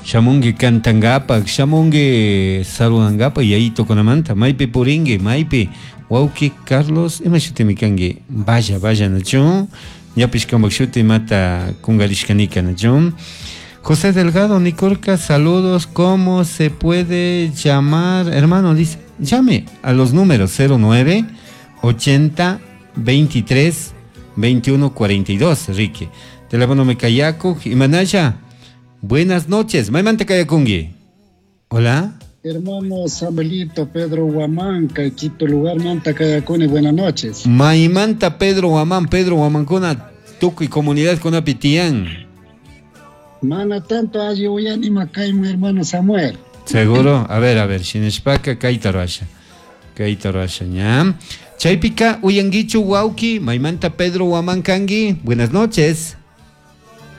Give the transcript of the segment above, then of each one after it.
Shamungi cantangapak, shamungi saludangapak yayitukunamanta, maypi puringi, maypi wawki Carlos, ima shutimi kangi? Vaya, vaya nachu? Ñapish kampak shuti imata kungarishkanika nachu? José Delgado Nicorca, saludos, ¿cómo se puede llamar? Hermano, dice, llame a los números 09 80 23 21 42, Ricky. Teléfono me kayaku, Imanaya. Buenas noches, maymanta kayakungi. Hola. Hermano Samuelito Pedro Huamán, Quito lugar manta kayakuni, buenas noches. Maymanta Pedro Huamán, Pedro Huamancuna, tukuy comunidad kunapi tiyan. Mana tanto alli uyanima kayman hermano Samuel. Seguro? A ver, shinashpaka kayta rurasha. Kayta rurasha ña. Chaypika uyanguichu wawki, maymanta Pedro Huamán kangi. Buenas noches.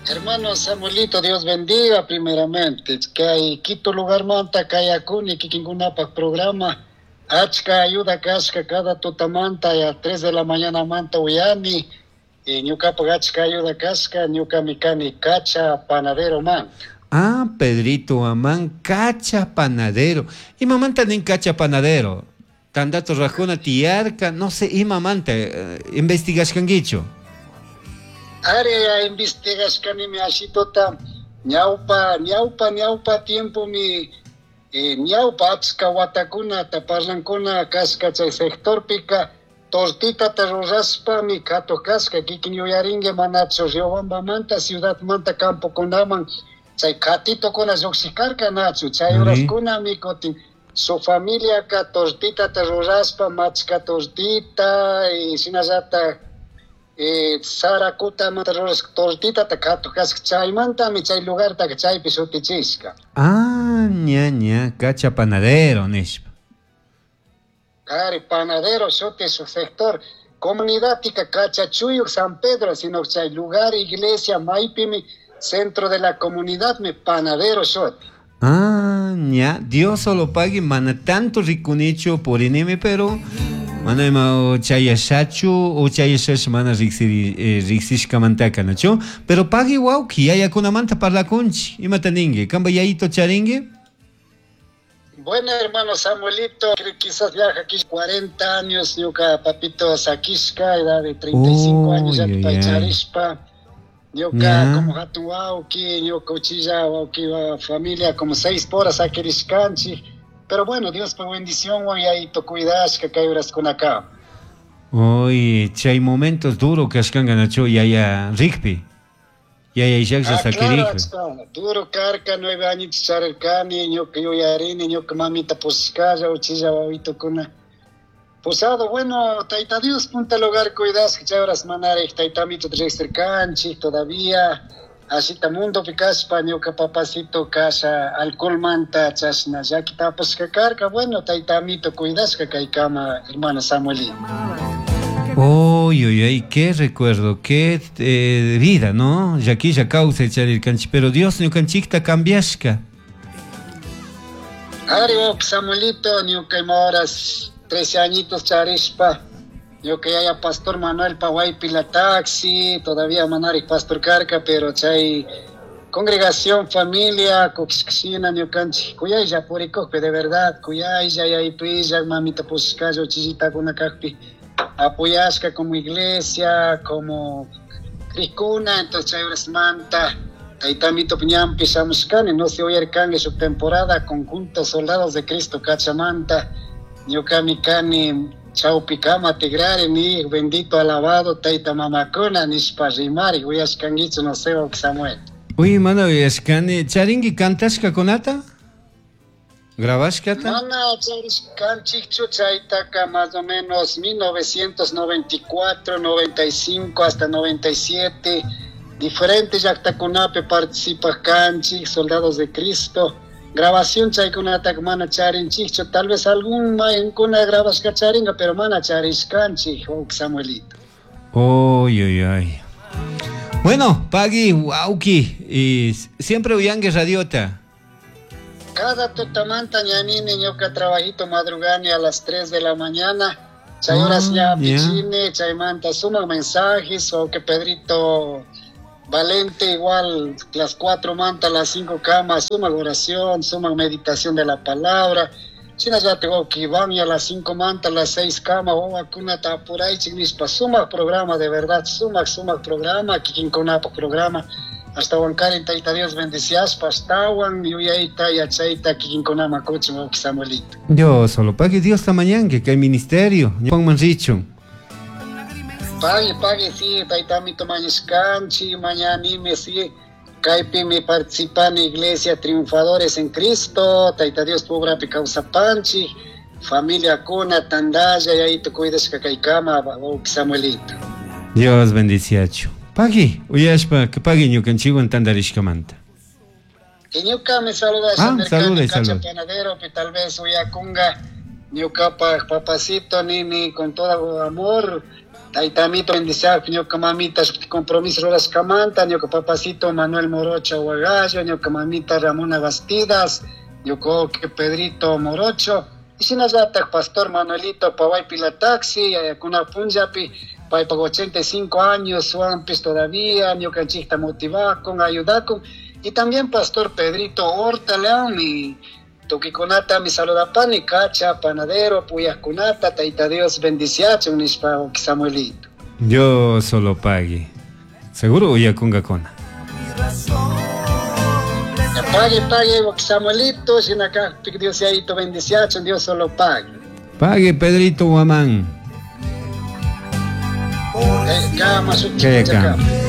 Hermano Samuelito, Dios bendiga primeramente. Kay Quito lugar manta kayakuni kikinkunapak programa. Achka ayuda kashka cada tutamanta a 3 de la mañana manta uyani. Y ñukapak achka ayuda kashka, ñukami kani Cacha panadero man. Ah, Pedrito Huamán, Cacha panadero. Imamanta nin Cacha panadero? Tandato rajuna tiyarka, no sé, imamanta, investigashkanguichu. Are investigashkanimi ashitota ñawpa ñawpa ñawpa tiempo mi ñawpa achka watakunata parlankuna kashka chay sectorpika tortitata rurashpami katuj kashka kikin yuyarinki manachu Riobambamanta ciudadmanta campokunaman chay katitokuna llukshikarka nachu chay horaskunami kutin su familiaka tortitata rurashpa machka tortita y shinallatak sarakutamanta rurashka tortitata katuj kashka chaymantami chay lugartaka chaypi shutichishka. Ah, ña, ña, Cacha panadero nishpa. Ari, panadero shuti su sector comunidadtika Cachachuyuk San Pedro, sino chay lugar iglesia maypimi centro de la comunidad mi panadero shuti. Ah, ña, Dios solo pague, mana tanto rikunichu purinimi, pero mana ima chayashachu o chayashash mana riksishkamantaka nachu, pero pagui wawki yayakunamanta parlakunchi, imata ningi, kamba yayito charingi? Bueno, hermano Samuelito, creo que quizás viaja aquí 40 años, ñuka papito sakishka, edad de 35 años, ya pay charishpa. Ñuka como hatun wawki, ñuka uchilla wawki, familia como 6 horas sakirishkanchik. Pero bueno, Dios pa bendición, yayito cuidashka kay horaskunaka. Uy, chay momentos duro kashkanka nachu yaya rikpi. Yaya llaqlla Ah, claro, sakirikpi. achka, duro karka, 9 añitos charirkani, ñuka yuyarini, ñuka mamita pushkalla, uchilla wawitukuna. Posado, bueno, Taita Dios, punta lugar cuidasqa, chay horas manarek, tayta amito riqsirkanchik todavía. Asita mundo pikashpa, ñuka papacito kasha, alcoholmanta, chashna, llaki tapashka karka, bueno, tayta amito cuidasqa kaykama, hermano Samuelito. Uy, uy, uy, qué recuerdo, qué vida, ¿no? Llakilla kawsay charirkanchik, pero Dios ñukanchikta cambiashka. Ari, oh, Samuelito, ñuka ima horas 13 añitos charishpa, ñuka yaya pastor Manuel Pawaypi la taxi, todavía manari pastor karka, pero chay congregación, familia, kukishkashina ñukanchik, kuyaylla purikukpi, de verdad, kuyaylla, yaypilla, mamita pushkalla, uchillitakuna kakpi, apoyashka como iglesia, como krikuna, entonces chay horas manta, taytamito ñanpi shamushkani, no se uyarkanki shuk temporada, conjunto Soldados de Cristo Cachamanta, ñukami kani chawpikama tigrari, ni bendito alabado tayta mamakuna nishpa rimari, uyashkankichu, no sé, Samuel. Uy, mana uyashkani, charinki kantashkakunata? Grabashkata? Mana charishkanchikchu, chaytaka más o menos 1994, 95 hasta 97, diferentes llaqtakunapi participaj kanchik, Soldados de Cristo. Grabación chaykunataka mana charinchikchu, tal vez algún mayankuna grabashka charinga, pero mana charishkanchik, oh, Samuelito. Uy, uy, uy. Bueno, Pagui, wauki, y siempre uyangue radiota. Cada tutamanta ñanini ñuka trabajito madrugani a las 3 de la mañana. Chay horas Ah, ña ya. pichine, chaymanta suman mensajes o que Pedrito Valente igual, las 4 manta, las 5 camas, suma oración, suma meditación de la palabra. Shinallata wawki Iván y a las 5 manta, las 6 camas, wawakunata apuraychik nishpa, sumak programa de verdad, sumak, sumak programa, kikinkunapaj programa. Ashtawankarin Tayta Dios bendiciaspa, ashtawan yuyayta, yachayta kikinkunaman kuchun, wawki Samuelito. Dios solo pague Dios mañana que hay ministerio, Juan Manrichun. Pague, pague, sí, taytamito mañashkanchi, mañanime, sí. Kaypimi participani Iglesia Triunfadores en Cristo, Tayta Dios pobrapi kawsapanchi, familia kuna, tandalla, yayito cuidashka kaykama, wawki Samuelito. Dios bendiciachu. Pagui, uyashpa, que pagui ñukanchikwan tandarishkamanta. Y ñukami saludasha, Ah, nirkani, saluda, Cacha saluda. Panadero, que tal vez uyakunga, ñukapaj papacito, nini, con todo amor, taytamito bendiciar, ñuka mamita, compromiso rurashkamanta, ñuka papacito Manuel Morocho Aguagallo, ñuka mamita Ramona Bastidas, ñuka que Pedrito Morocho, y shinallataj Pastor Manuelito Paway Pilataxi, ayakuna punllapi, paypaj 85 años, suampis todavía, ñukanchikta motivakun, ayudakun, y también Pastor Pedrito Horta León, y tukikunata mi saludapani, Cacha, Panadero, Puyaskunata, Tayta Dios bendiciachun, nishpa, Samuelito. Yo solo pague. Seguro uyakungakuna. Pague, pague, Samuelito, shinaka, Dios yayito bendiciachun, Dios solo pague. Pague, Pedrito Guamán. Kama, Kaya kama.